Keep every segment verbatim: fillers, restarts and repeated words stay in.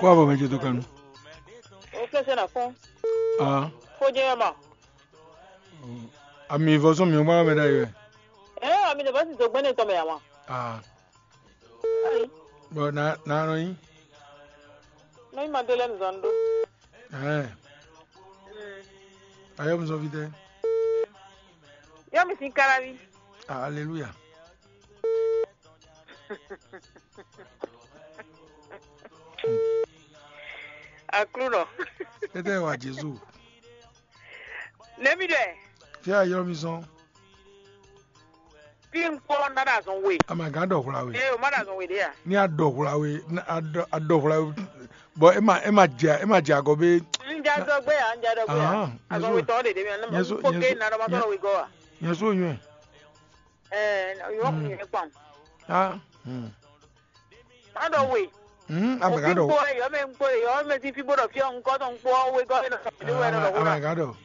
Wa bɔ mɛ ce to kanu. O fɛsɛ na fɔn. Ah. Fo jɛ ma. Ami vɔ sɔn mi wa mɛ da yɛ. Eh, ami de basi do gbɛnɛ tɔ mɛ ya ma. Ah. Ayi. Bon, na na no yi. No yi ma de lɛ nzɔn do. Eh. Mm. Ayo mi sɔn fitɛ. Yo mi sin karavi. Ah, alléluia. Aklúnɔ. Étɛ́ wa Jezu. Nɛ̌ mi ɖɔ ɛ? Fí a ylɔ́ mi zɔn. Fí un kpɔ́ ná ɖo azɔn we. A ma gán ɖɔ hwla we. Ee, o má ɖo azɔn we ɖě a? Ní a ɖɔ hwla we, ní a ɖɔ a ɖɔ hwla we, bɔ é ma é ma jɛ é ma jɛ agɔ bé. Un jɛ azɔn gbé a, un jɛ azɔn gbé a. Ahán, Azɔn we tɔn ɖe ɖě mi a, ne mo kpó ké na ɖɔ ma tɔn we gɔ́ a. Nyɛ so nyɔɛ. Ɛɛ, yɔ kun yɛ kpan. Ah. Hmm. Má ɖɔ we. Hmm, a bɛ ka ɖɔ. Kpó yɔ mɛ kpó yɔ mɛ ti fi bó ɖɔ fi ɔn kɔ tɔn kpó we gɔ e nɔ sɔ de wɛ nɔ ɖɔ a ko ma na. Ka ɖɔ.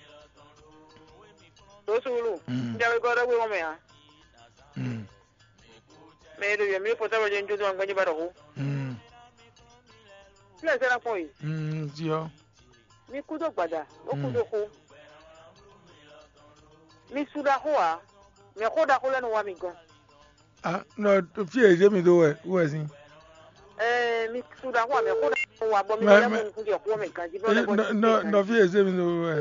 Do sulu. Hmm. N jɛ we gɔ ɖɔ we wɔn mɛ a. Hmm. Mɛ e ɖo yɔ mi fɔ sábà jɛ n jó tó ma gbɛnyi ba ɖɔ ko. Hmm. Fi lɛ sɛ na kpɔn yi. Hmm, ti ɔ. Mi kú dó gbada, bó kú dó xó. Mi su ɖaxó ǎ, mɛ xó ɖaxó lɛ́ɛ nɔ wá mi gɔ́n. Ah, nɔ fí e zé mi dó wɛ wɛ sín. Ɛɛ, mi su ɖaxó ǎ, mɛ xó ɖaxó nɔ wá bɔ mi lɛ́ mɔ nukún jɛ xó mɛ ganjí bɔ lɛ́ bɔ nɔ fí e zé mi dó wɛ.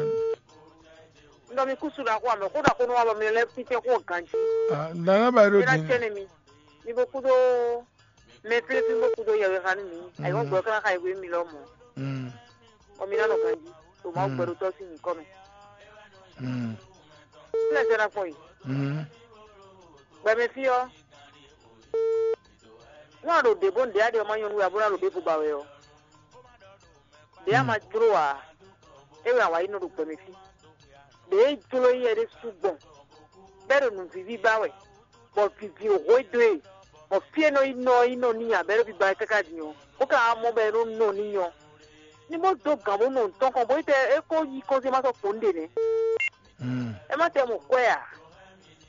Nɔ mi kú su ɖaxó ǎ, mɛ xó ɖaxó nɔ wá bɔ mi lɛ́ fítɛ́ xó ganjí. Ah, nana ba ɖo din. Mi ná cɛ nɛ mi, mi bó kú dó. Mɛ flɛ́flɛ́ bó kú dó yɛwexanú mǐ, ayǐhɔ́ngbe ɔ́ ka ná xa yɛhwenu mì lɔmɔ̌, bɔ mi ná nɔ ganjí, ɖo Mawu gbɛɖótɔ́ sín nyǐkɔ mɛ. Fí lɛ́ɛ sɛ́ ná kpɔ́n yi. Gbɛmɛ fí ɔ́, nú a ɖo ɖě bó ɖě a ɖe ɔ́ ma nyɔ́ nú we ǎ bó ná ɖo ɖěvo ba wɛ ɔ́, ɖě a ma jló ǎ, é wɛ a wǎ yi nɔ ɖo gbɛmɛ fí. Ɖě e jló nyɛ ɖésú gbɔn, bɔ é ɖo nǔvíví ba wɛ, bɔ vǐví hwedó e, bɔ fí e nɔ yi nɔ yi nɔ n'i ǎ, bɔ é ɖo biba wɛ káká din ɔ́, bó ka wá mɔ bɔ é nɔ nɔ n'i ɔ́, ní bó dó gǎn bó nɔ nǔ tɔn kɔn, bó yi tɛ é ko yi kɔnsɛ́n ma sɔ́ kpɔ̌n ɖě nɛ́. É má tɛ mɔ kwɛ ǎ,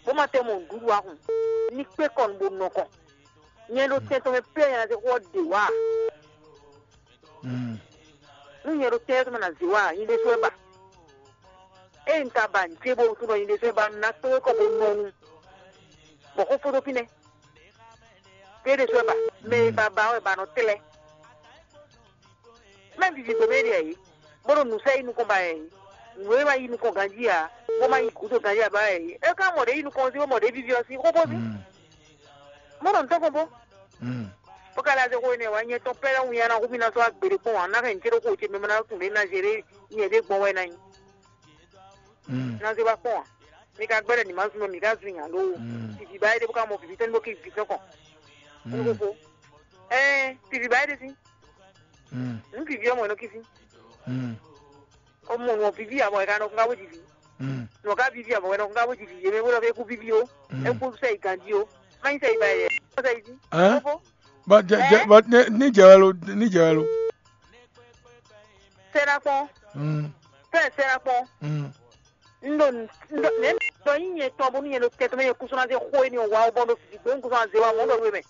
bó má tɛ mɔ nǔɖuɖu ǎ hǔn, ní kpé kɔ nu bó nɔ kɔn. Nyɛ ɖo tɛn tɔn mɛ pɛ́ nyɛ ná zé xó ɔ́ ɖe wǎ. Nú nyɛ ɖo tɛ́ tɔn mɛ ná zé wá, nyi ɖésú wɛ ba. Ée un ka ba nǔ ce bó wútu ɖɔ nyi ɖésú wɛ ba, un ná kpé kɔ bó nɔ nu, bɔ xó fó dó fínɛ́. Kpé ɖésú wɛ ba, mɛ e ba ba wɛ ba nɔ tlɛ́. Mɛ vivi gbé mɛ ɖe ǎ é, bó ɖo nǔ sɛ́ yi nukɔn ba ǎ é. Nǔ e ma yi nukɔn ganjí ǎ, bó ma yi gǔdo ganjí ǎ ba ǎ é. É ka mɔ ɖě yi nukɔn ɔ́ sín, bó mɔ ɖě vivi ɔ́ sín, xó fó sín. Mɔ̌ ɖɔ nǔ tɔn kɔn bó. Bó ka lɛ́ zé xó énɛ́ wá, nyɛ tɔn pɛ́ lɛ́ɛ winnyá ná hu mì ná sɔ́ wá gbeɖé kpɔ́n ǎ, ná hɛn nǔ ce ɖokpó ce mɛ ná tunwun ɖě ná zé ɖé nyɛ ɖé gbɔn wɛ ná nyí. Ná zé wá kpɔ́n ǎ. Mi ka gbɛ́ ɖɔ nǐ ma zun mɛ, mǐ ka zun nya ló. Vivi ba éɖé bó ka mɔ vivi tɔn ní bó ké vi tɔn kɔn. Nú xóxó. Ɛɛ, vivi ba éɖé sín. Nǔ vivi ɔ́ mɔ é nɔ kí sín. Ó mɔ nǔ ɔ́ vivi ǎ, bɔ è ka nɔ kún ká bó ji vǐ. Nǔ ɔ́ ka vivi ǎ, bɔ è nɔ kún ká bó ji vǐ. Yě mɛ bó ɖɔ fí é kú vivi ó, é kú sɛ yi ganjí ó, má nyí sɛ yi ba yɛ, é sɛ yi jí. Bɔ jɛ jɛ bɔ ní ní jɛ wɛ lo, ní jɛ wɛ lo. Sɛ ná kpɔn. Fɛn sɛ ná kpɔn. Un ɖo un ɖo nɛ̌ ɖɔ nyí nyɛ tɔn bónú nyɛ ɖo tɛn tɔn mɛ, nyɛ kúsú ná zé xó énɛ́ ɔ́ wá ó, bɔ un ɖo vǐvǐ gbé un kúsú ná zé wá mɔ̌ ɖɔ nú we mɛ.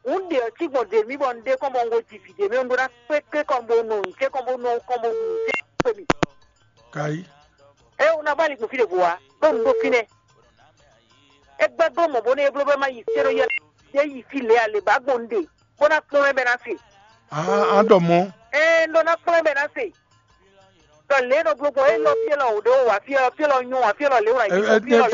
Un ɖe ɔ́ cí gbɔn ɖě mì bɔ un ɖe kɔn bɔ un ko ji vǐ ɖě mɛ, un ɖó ná kpé kpé kɔn bó nɔ nǔ ce kɔn bó nɔ kɔn bó nǔ ce kpé mì. Kayi. É wú ná ba ali gbɔn fí ɖěvo ǎ, ɖó un ɖó fínɛ́. É gbɛ́ dó mɔ̌ bónú é bló bɔ é má yi fí é nɔ yi ɔ́, é yi fí lě ǎ, lě ba gbɔn un ɖe, bó ná kpɔ́n mɛ bɔ é ná se. Aa, a ɖɔ mɔ̌. Ɛɛ, un ɖɔ ná kplɔ́n ɛ bɔ é ná se. Ɖɔ lě e nɔ bló gbɔn é lɔ fí élɔ́ wǒ ɖé wó wǎ fí élɔ́, fí élɔ́ nyɔ́ wǎ fí élɔ́ lě wǒ ná yi fí élɔ́ lě wǒ